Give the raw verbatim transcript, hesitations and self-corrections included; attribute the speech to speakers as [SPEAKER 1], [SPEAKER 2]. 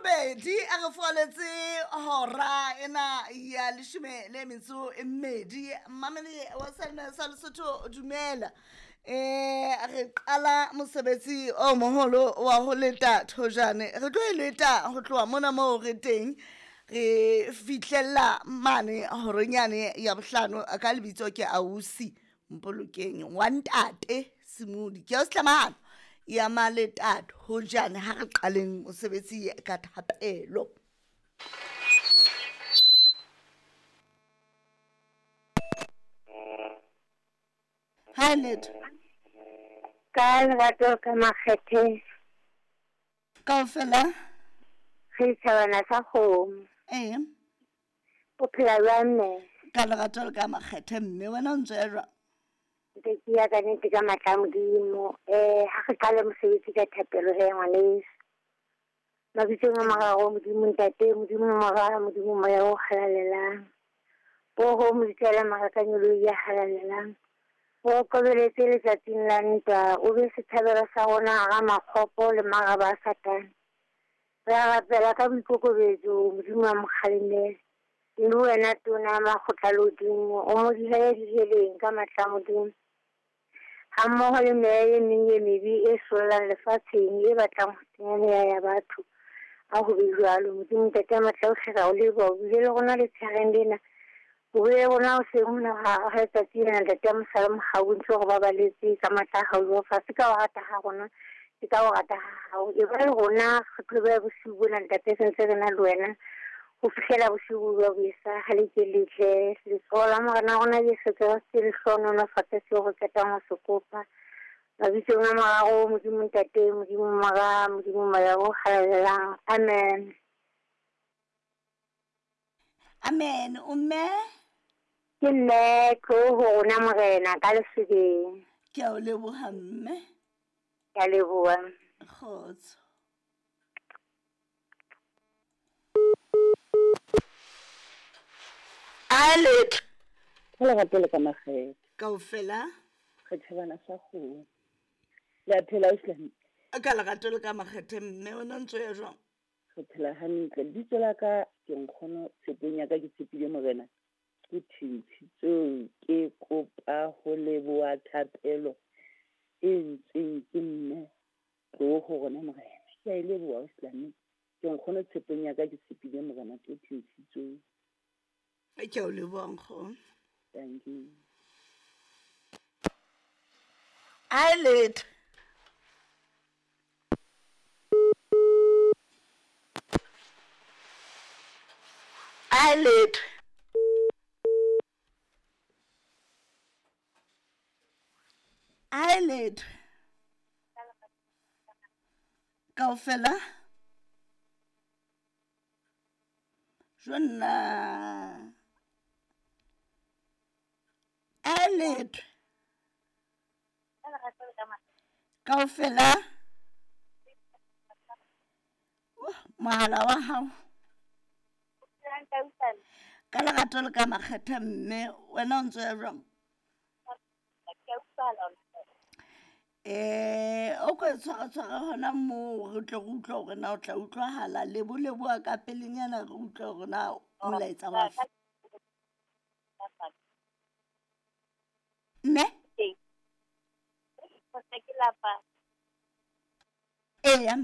[SPEAKER 1] Robedi a re foaletse hora ena ya leshome le metso e mmedi. Mmamedi wa Selma sa Lesotho, dumela. Eh re qala mosebetsi o moholo wa ho leta thojane. Re tlo e leta ho tloha mona moo re teng, re fihlella mane horeng yane ya bohlano. Ka lebitso ke ausi Mpolokeng wa ntate Simodi. Ke o setlamahano ya maleta thojane. Ha re qaleng mosebetsi ka thapelo. Ha letho
[SPEAKER 2] Ka lerato ka makgethe.
[SPEAKER 1] Kaofela
[SPEAKER 2] re thabana sa kgomo.
[SPEAKER 1] Ee.
[SPEAKER 2] O phela jwang mme?
[SPEAKER 1] Ka lerato le ka makgethe mme, wena o ntse ya jwang?
[SPEAKER 2] Ntse ke ya ka nnete ka matla a Modimo. Eh ha re qale mosebetsi ka thapelo he ngwaneso. Mabitsong a mararo Modimo Ntate, Modimo Mora, Modimo Moya o halalelang. Boho moditsela marakanyolo ya halalelang. O kobeletse letsatsing la ntwa, o be setshabelo sa rona hara makgopo le maraba a Satane. Re a rapela ka boikokobetso, Modimo a mo kgalemele. Le wena tona ya makgotla lehodimo, o mo dihele diheleng ka matla a Modimo. Ha mmoho le meya e meng e mebe e sollang lefatsheng e batlang ho senya meya ya batho. A ho be jwalo. Modimo Ntate ya matla ohle, re a o leboha. O bile le rona letshehareng lena. O bile le rona hoseng hona ha letsatsi lena, Ntate ya mosala mohau, ntse o re babaletse ka matla a hao Jehova. Se ka o rata ha rona, se ka o rata ha hao. E ba le rona re tlo bosiu bona, Ntate, se ntse re na le wena ho fihlela bosiu bo boesa. Ha le ke letle letsoho la Morena rona Jesu Kreste le hlohonolofatse seo re qetang ho se kopa. Mabitsong a mararo Modimo Ntate, Modimo Mora, Modimo Moya o halalelang. Amen.
[SPEAKER 1] Amen. O mme?
[SPEAKER 2] Ke mme tlo ho rona Morena ka lesobeng.
[SPEAKER 1] Ke a o leboha mme.
[SPEAKER 2] Ke a leboha.
[SPEAKER 1] Kgotso. A letho.
[SPEAKER 3] Ka lerato le ka makgethe.
[SPEAKER 1] Kaofela
[SPEAKER 3] re thabana sa kgomo. Le a phela ausi?
[SPEAKER 1] Ka lerato le ka makgethe mme, wena o ntso ya jwang?
[SPEAKER 3] Re phela hantle. Lebitso la ka ke nkgono tshepeng ya ka, ke tshepile Morena. Ke thintshitsweng, ke kopa ho leboha thapelo e ntseng ke mme tlo ho rona Morena. Ke a e leboha ausi. Ke nkgono tshepeng ya ka, ke tshepile Morena, ke thintshitsweng.
[SPEAKER 1] Ke a o leboha nkgono.
[SPEAKER 3] Thank you.
[SPEAKER 1] A letho. A letho. A letho. Kaofela jonna. A letho. Kaofela mohala wa hao. Ka lerato le ka makgethe mme, wena o ntso ya jwang? Eh o ko tshwara tshwara hona moo re tle re utlwe hore na o tla utlwahala. Lebo leboha ka pelenyana re utlwe hore na molaetsa wa mme. Eya.